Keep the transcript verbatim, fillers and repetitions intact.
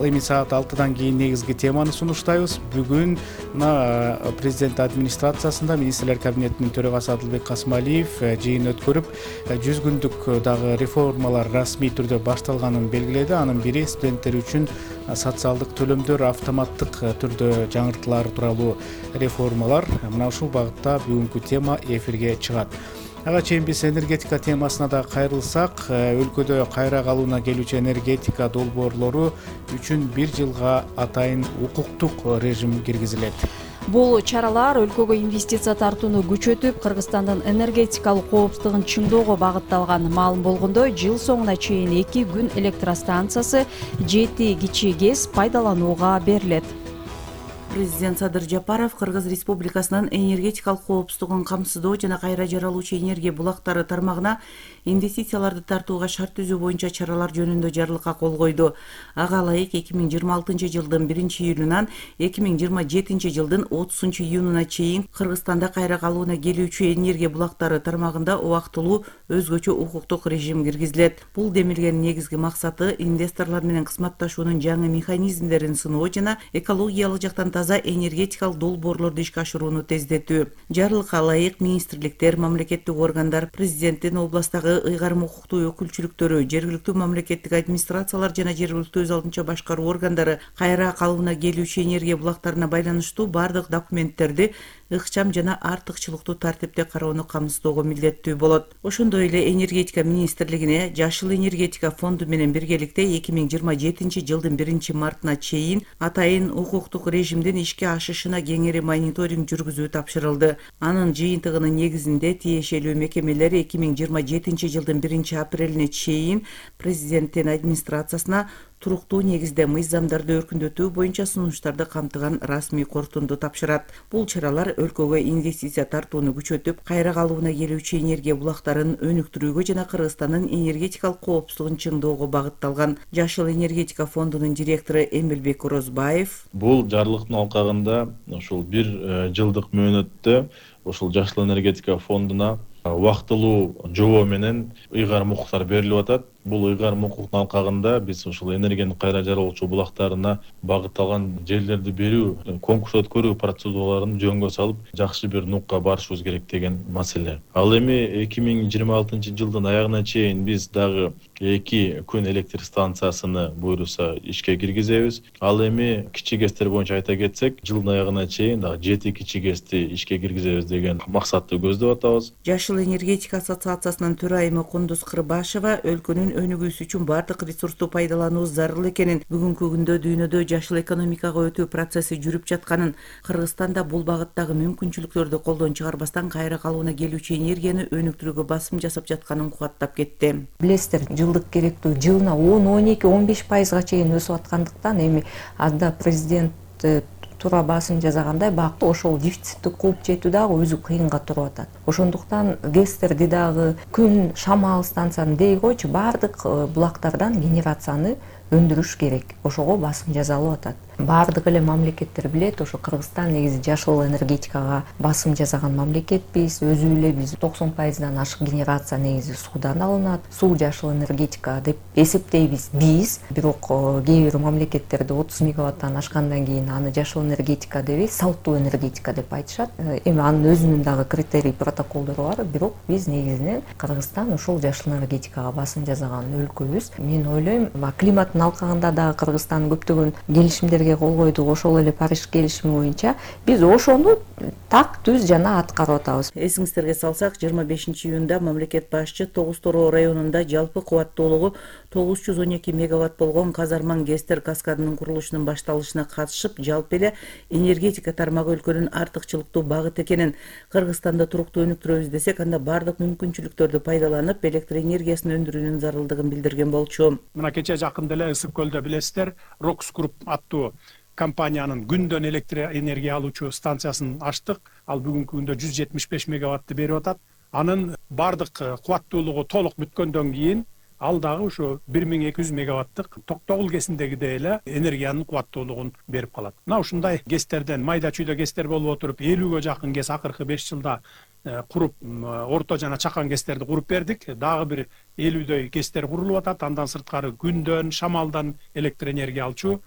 Ал эми саат алтыдан кийин негизги теманы сунуштайбыз. Бүгүн мына президент администрациясында министрлер кабинетинин төрагасы Адылбек Касымалиев жыйын өткөрүп, жүз күндүк дагы реформалар расмий түрдө башталганын белгиледи. Анын бири студенттер үчүн социалдык төлөмдөр автоматтык түрдө жаңыртылары тууралуу реформалар. Мына ушул багытта бүгүнкү тема эфирге чыгат. Ага чейин биз энергетика темасына да кайрылсак, өлкөдө кайра калууна келүүчү энергетика долбоорлору үчүн бир жылга атайын укуктук режим киргизилет. Бул чаралар өлкөгө инвестиция тартууну күчөтүп, Кыргызстандын энергетикалык коопсуздугун чыңдоого багытталган. Маалым болгондой, жыл соңуна чейин эки күн электростанциясы, жети кичи ГЭС пайдаланууга берилет. Президент Садыр Жапаров Кыргыз Республикасынын энергетикалык коопсуздугун камсыздоо жана кайра жаралуучу энергия булактары тармагына инвестицияларды тартууга шарт түзүү боюнча чаралар жөнүндө жарлыкка кол койду. Ага ылайык эки миң жыйырма алтынчы жылдын биринчи июлунан эки миң жыйырма жетинчи жылдын отузунчу июнуна чейин Кыргызстанда кайра калууна келүүчү энергия булактары тармагында убактылуу өзгөчө укуктук режим киргизилет. Бул демилгенин негизги максаты инвесторлор менен кызматташуунун жаңы механизмдерин сыноо жана экологиялык жактан таза энергетикалык долбоорлорду ишке ашырууну тездетүү. Жарлыкка ылайык министрликтер, мамлекеттик органдар, президенттин областагы ыйгарым укуктуу өкүлчүлүктөрү, жергиликтүү мамлекеттик администрациялар жана жергиликтүү өз алдынча башкаруу органдары кайра калууна келүүчү энергия булактарына байланыштуу бардык документтерди ыкчам жана артыкчылыктуу тартипте кароону камсыздоого милдеттүү болот. Ошондой эле энергетика министрлигине Жашыл энергетика фонду менен биргеликте эки миң жыйырма жетинчи жылдын биринчи мартына чейин атайын укуктук режимдин ишке ашышына кеңири мониторинг жүргүзүү тапшырылды. Анын жыйынтыгынын негизинде тиешелүү мекемелер эки миң жыйырма жетинчи жылдын биринчи апрелине чейин президенттин администрациясына туруктуу негизде мыйзамдарды өркүндөтүү боюнча сунуштарды камтыган расмий корутунду тапшырат. Бул чаралар өлкөгө инвестиция тартууну күчөтүп, кайра калууна келүүчү энергия булактарын өнүктүрүүгө жана Кыргызстандын энергетикалык коопсуздугун чыңдоого багытталган. Жашыл энергетика фондунун директору Эмилбек Орозбаев: Бул жарлыктын алкагында ушул бир жылдык мөөнөттө ушул Жашыл энергетика фондуна убактылуу жобо менен ыйгарым укуктар берилип атат. Бул ыйгарым укуктун алкагында биз ушул энергиянын кайра жаралуучу булактарына багытталган жерлерди берүү, конкурс өткөрүү процедураларын жөнгө салып, жакшы бир нукка барышыбыз керек деген маселе. Ал эми эки миң жыйырма алтынчы жылдын аягына чейин биз дагы эки күн электр станциясыны буйруса ишке киргизебиз. Ал эми кичи ГЭСтер боюнча айта кетсек, жылдын аягына чейин дагы жети кичи ГЭСти ишке киргизебиз деген максатты көздөп атабыз. Жашыл энергетика ассоциациясынын төрайымы Кундуз Кырбашева өлкөнүн өнүгүүсү үчүн бардык ресурсту пайдалануу зарыл экенин, бүгүнкү күндө дүйнөдө жашыл экономикага өтүү процесси жүрүп жатканын, Кыргызстанда бул багыттагы мүмкүнчүлүктөрдү колдон чыгарбастан кайра калууна келүүчү энергияны өнүктүрүүгө басым жасап жатканын кубаттап кетти. Билесиздер, жылдык керектүү жылына он, он эки, он беш пайызга чейин өсүп аткандыктан эми анда президент туура басым жасагандай багытта ошол дефицитти кууп жетүү дагы өзү кыйынга туруп атат. Ошондуктан ГЭСтерди дагы, күн шамал станцияны дей койчу, бардык булактардан генерацияны өндүрүш керек. Ошого басым жасалып атат. Бардык эле мамлекеттер билет, ошо Кыргызстан негизи жашыл энергетикага басым жасаган мамлекетпиз. Өзү эле биз токсон пайыздан ашык генерация негизи суудан алынат. Суу жашыл энергетика деп эсептейбиз биз. Бирок кээ бир мамлекеттерде отуз мегаваттан ашкандан кийин аны жашыл энергетика дебей, салттуу энергетика деп айтышат. Эми анын өзүнүн дагы критерий, протоколдору бар. Бирок биз негизинен Кыргызстан ушул жашыл энергетикага басым жасаган өлкөбүз. Мен ойлойм, климаттын алкагында дагы Кыргызстан көптөгөн келишимдерге кол койду. Ошол эле Париж келишими боюнча биз ошону так түз жана аткарып атабыз. Эсиңиздерге салсак, жыйырма бешинчи июнда мамлекет башчы Тогуз Тороо районунда жалпы кубаттуулугу тогуз жүз он эки мегаватт болгон Казарман ГЭСтер каскадынын курулушунун башталышына катышып, жалпы эле энергетика тармагы өлкөнүн артыкчылыктуу багыт экенин, Кыргызстанда туруктуу өнүктүрөбүз десек, анда бардык мүмкүнчүлүктөрдү пайдаланып, электр энергиясын өндүрүүнүн зарылдыгын билдирген болчу. Мына кече жакында эле Ысык көлдө билесиздер, Рокс Груп аттуу компаниянын күндөн электр энергия алуучу станциясын ачтык. Ал бүгүнкү күндө жүз жетимиш беш мегаватты берип атат. Анын бардык кубаттуулугу толук бүткөндөн кийин ал дагы ушу бир миң эки жүз мегаваттык Токтогул ГЭСиндегидей эле энергиянын кубаттуулугун берип калат. Мына ушундай ГЭСтерден, майда чүйдө ГЭСтер болуп отуруп, элүүгө жакын ГЭС акыркы беш жылда куруп, орто жана чакан ГЭСтерди куруп бердик. Дагы бир элүүдөй ГЭСтер курулуп атат. Андан сырткары күндөн, шамалдан электр энергия алчу